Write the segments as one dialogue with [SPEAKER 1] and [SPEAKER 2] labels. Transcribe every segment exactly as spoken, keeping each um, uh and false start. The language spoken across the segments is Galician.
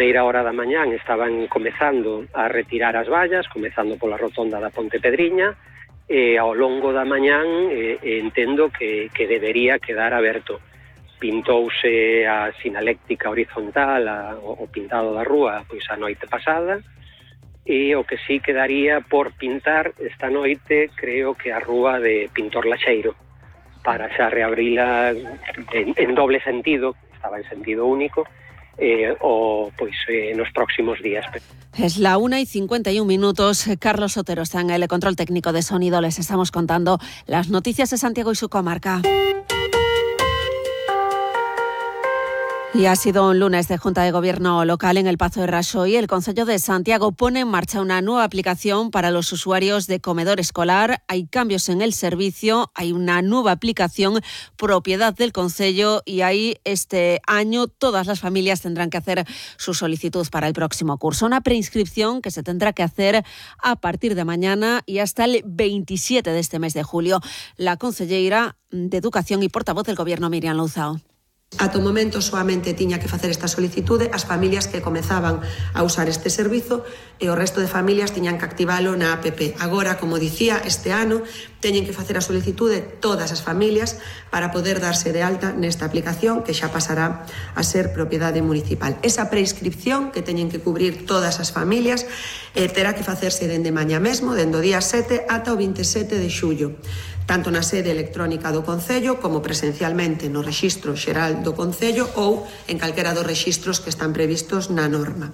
[SPEAKER 1] primeira hora da mañán estaban comezando a retirar as vallas, comezando pola rotonda da Ponte Pedriña, e ao longo da mañán eh, entendo que, que debería quedar aberto. Pintouse a sinaléctica horizontal, a, o pintado da rúa, pois a noite pasada, e o que sí quedaría por pintar esta noite, creo que a rúa de Pintor Laxeiro, para xa reabrila en, en doble sentido, estaba en sentido único, eh, o pois eh, nos próximos días.
[SPEAKER 2] Es la una y cincuenta y un minutos. Carlos Otero está en el control técnico de sonido. Les estamos contando las noticias de Santiago y su comarca. Y ha sido un lunes de Junta de Gobierno local en el Pazo de Raxoi. El Concello de Santiago pone en marcha una nueva aplicación para los usuarios de comedor escolar. Hay cambios en el servicio, hay una nueva aplicación propiedad del Concello y ahí este año todas las familias tendrán que hacer su solicitud para el próximo curso. Una preinscripción que se tendrá que hacer a partir de mañana y hasta el veintisiete de este mes de julio. La concelleira de Educación y portavoz del Gobierno, Miriam Louzao.
[SPEAKER 3] Ata o momento soamente tiña que facer esta solicitude as familias que comezaban a usar este servizo e o resto de familias tiñan que activalo na app. Agora, como dicía, este ano teñen que facer a solicitude todas as familias para poder darse de alta nesta aplicación que xa pasará a ser propiedade municipal. Esa prescripción que teñen que cubrir todas as familias eh, terá que facerse dende mañá mesmo, dende o día sete ata o veintisiete de xullo. Tanto na sede electrónica do Concello como presencialmente no rexistro xeral do Concello ou en calquera dos rexistros que están previstos na norma.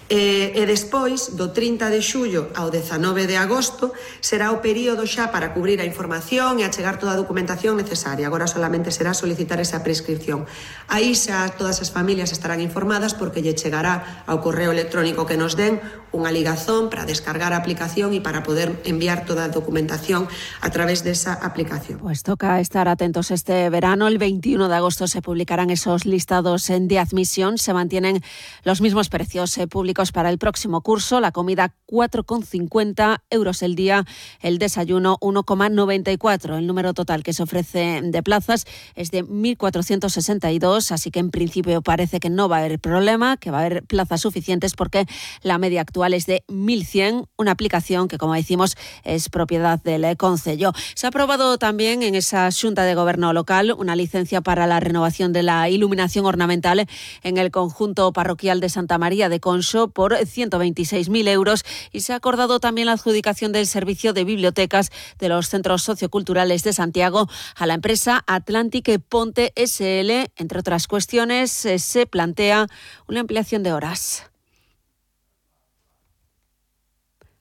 [SPEAKER 3] E, e despois, do trinta de xullo ao dezanove de agosto, será o período xa para cubrir a información e achegar toda a documentación necesaria. Agora solamente será solicitar esa prescripción. Aí xa todas as familias estarán informadas porque lle chegará ao correo electrónico que nos den unha ligazón para descargar a aplicación e para poder enviar toda a documentación a través desa aplicación.
[SPEAKER 2] Pues toca estar atentos este verano. El veintiuno de agosto se publicarán esos listados de admisión. Se mantienen los mismos precios eh, públicos para el próximo curso. La comida cuatro con cincuenta euros el día, el desayuno uno con noventa y cuatro. El número total que se ofrece de plazas es de mil cuatrocientos sesenta y dos, así que en principio parece que no va a haber problema, que va a haber plazas suficientes porque la media actual es de mil cien, una aplicación que, como decimos, es propiedad del Concello. Se ha aprobado también en esa Xunta de Gobierno local una licencia para la renovación de la iluminación ornamental en el conjunto parroquial de Santa María de Conso por ciento veintiséis mil euros y se ha acordado también la adjudicación del servicio de bibliotecas de los centros socioculturales de Santiago a la empresa Atlantic Ponte S L. Entre otras cuestiones, se plantea una ampliación de horas.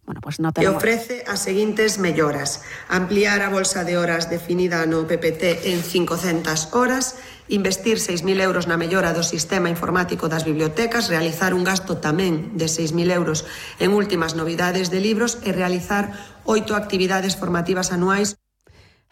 [SPEAKER 2] Bueno, pues no tenemos...
[SPEAKER 3] E ofrece as seguintes melloras: ampliar a bolsa de horas definida no P P T en cincocentas horas, investir seis mil euros na mellora do sistema informático das bibliotecas, realizar un gasto tamén de seis mil euros en últimas novidades de libros e realizar oito actividades formativas anuais.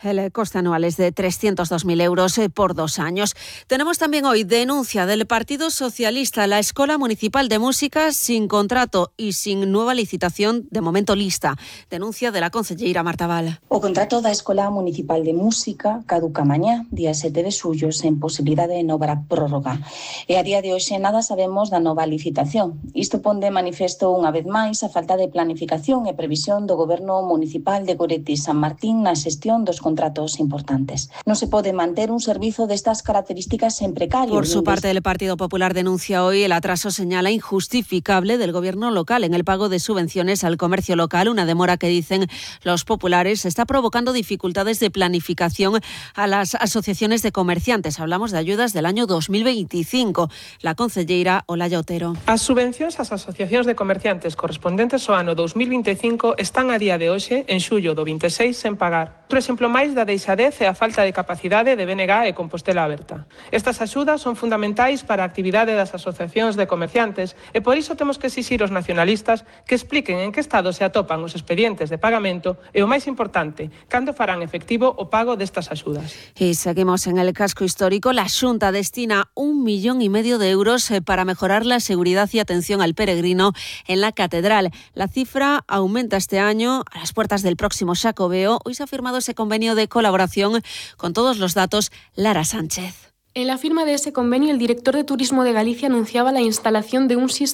[SPEAKER 2] El coste anual es de trescientos dos mil euros por dos años. Tenemos también hoy denuncia del Partido Socialista. La Escola Municipal de Música sin contrato y sin nueva licitación, de momento lista. Denuncia de la concelleira Marta Val.
[SPEAKER 4] O contrato da Escola Municipal de Música caduca mañá, día sete de xullo, sen posibilidade de nova prórroga. E a día de hoxe nada sabemos da nova licitación. Isto pon de manifesto unha vez máis a falta de planificación e previsión do Goberno Municipal de Goretti San Martín na xestión dos contratos importantes. No se pode manter un servizo destas características en precario.
[SPEAKER 2] Por su parte, el Partido Popular denuncia hoy el atraso, señala, injustificable del gobierno local en el pago de subvenciones al comercio local, una demora que, dicen los populares, está provocando dificultades de planificación a las asociaciones de comerciantes. Hablamos de ayudas del año dos mil veinticinco. La concelleira Olaya Otero.
[SPEAKER 5] As subvencións ás asociacións de comerciantes correspondentes ao ano dos mil veinticinco están a día de hoxe, en xullo do veintiséis, sen pagar. Outro exemplo máis da deixadez e a falta de capacidade de B N G e Compostela Aberta. Estas axudas son fundamentais para a actividade das asociacións de comerciantes e por iso temos que exixir aos nacionalistas que expliquen en que estado se atopan os expedientes de pagamento e, o máis importante, cando farán efectivo o pago destas axudas.
[SPEAKER 2] Y seguimos en el casco histórico. La Xunta destina un millón y medio de euros para mejorar la seguridad y atención al peregrino en la catedral. La cifra aumenta este año a las puertas del próximo Xacobeo. Hoy se ha firmado ese convenio de colaboración con todos los datos. Lara Sánchez.
[SPEAKER 6] En la firma de ese convenio, el director de Turismo de Galicia anunciaba la instalación de un sistema